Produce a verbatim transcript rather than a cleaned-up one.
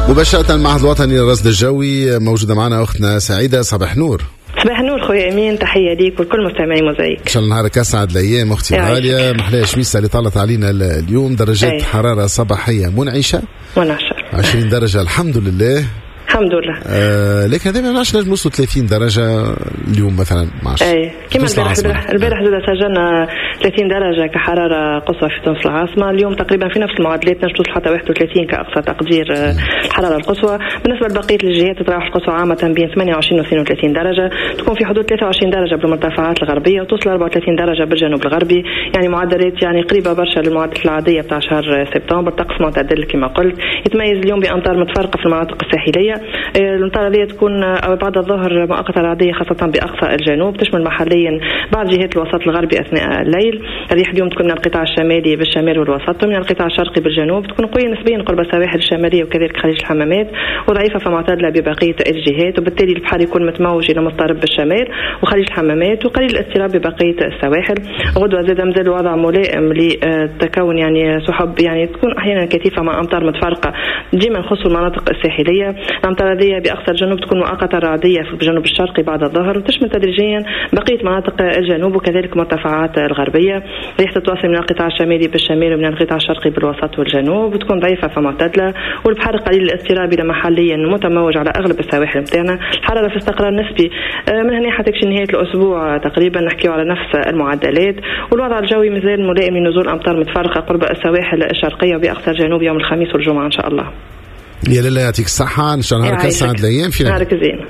مباشرة المعهد الوطني للرصد الجوي موجودة معنا أختنا سعيدة. صباح نور. صباح النور خويا امين، تحية ليك ولكل مستمعي موزايك. ان شاء الله نهارك اسعد الايام اختي الغالية. محلاها شميسه اللي طلت علينا اليوم، درجات أي. حرارة صباحية منعشه منعشه عشرين درجه الحمد لله. الحمد لله. آه لكن هذا ما نعرفش نجم نوصلوا ثلاثين درجه اليوم مثلا، ما عرفتش. اي كما البارح، البارح البارح زاد سجلنا ثلاثين درجه كحراره قصوى في تونس العاصمة، اليوم تقريبا في نفس المعادلات نجم توصل حتى واحد وثلاثين كاقصى تقدير الحرارة القصوى. بالنسبة لبقية الجهات تتراوح القصوى عامة بين ثمانية وعشرين و اثنين وثلاثين درجه، تكون في حدود ثلاثة وعشرين درجه بالمرتفعات الغربية وتوصل أربعة وثلاثين درجه بالجنوب الغربي، يعني معدلات يعني قريبه برشا للمعدلات العادية بتاع شهر سبتمبر. طقس معتدل كما قلت، يتميز اليوم بامطار متفرقة في المناطق الساحلية. الأمطار هذه تكون بعد الظهر مؤقتة رعدية خاصة بأقصى الجنوب، تشمل محليا بعض جهات الوسط الغربي أثناء الليل. الريح اليوم تكون من القطاع الشمالي بالشمال والوسط ومن القطاع الشرقي بالجنوب، تكون قوية نسبيا قرب السواحل الشمالية وكذلك خليج الحمامات، وضعيفة فمعتدلة ببقية الجهات، وبالتالي البحر يكون متموج إلى مضطرب بالشمال وخليج الحمامات وقليل الاضطراب ببقية السواحل. غدوة زاد مازال الوضع ملائم لتكون يعني سحب، يعني تكون أحيانا كثيفة مع أمطار متفرقة ديما نخص المناطق الساحلية. الأمطار هذه بأقصى الجنوب تكون مؤقتة رعدية في الجنوب الشرقي بعد الظهر، وتشمل تدريجيا بقية مناطق الجنوب وكذلك المرتفعات الغربية. ريح تتواصل من القطاع الشمالي بالشمال ومن القطاع الشرقي بالوسط والجنوب، وتكون ضعيفة فمعتدلة، والبحر قليل الاضطراب إلى محليا متموج على أغلب السواحل نتاعنا. الحرارة في استقرار نسبي من هنا حتى نهاية الأسبوع تقريبا، نحكيو على نفس المعدلات. والوضع الجوي مازال ملائم لنزول أمطار متفرقة قرب السواحل الشرقية وبأقصى الجنوب يوم الخميس والجمعة إن شاء الله. يا لاله يعطيك الصحة، إن شاء الله نهارك أسعد الأيام. في نهارك زين.